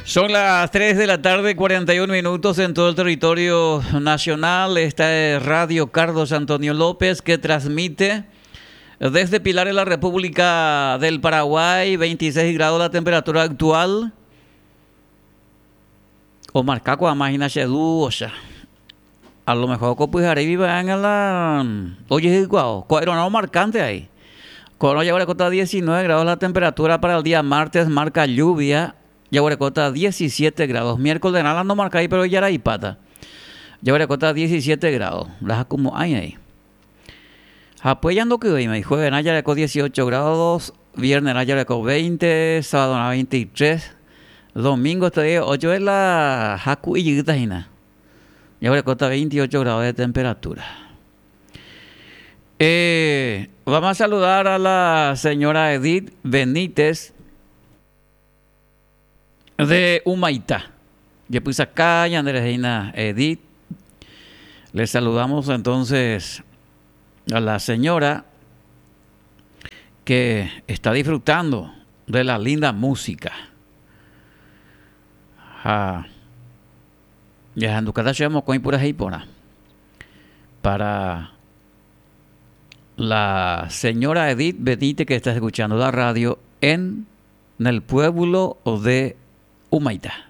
Son las 3 de la tarde, 41 minutos en todo el territorio nacional. Esta es Radio Carlos Antonio López que transmite desde Pilar en la República del Paraguay, 26 grados la temperatura actual. O marca máquina osha. A lo mejor ko pyhare viva la oye no marcante ahí. Cuando ya 19 grados la temperatura para el día martes marca lluvia. Yaguarecota 17 grados. Miércoles nada no marca ahí, pero ya era ahí pata. Yaguarecota 17 grados. Las como hay ahí. Apoyando que hoy me dijo, jueves Yareco 18 grados, viernes Yareco 20, sábado 23, domingo este 8 es la Haku y Yigita Yaguarecota 28 grados de temperatura. Eh, vamos a saludar a la señora Edith Benítez de Humaitá. Ya puse acá, Andresina Edith. Le saludamos entonces a la señora que está disfrutando de la linda música. Ah, para la señora Edith Benítez que está escuchando la radio en el pueblo de Humaitá.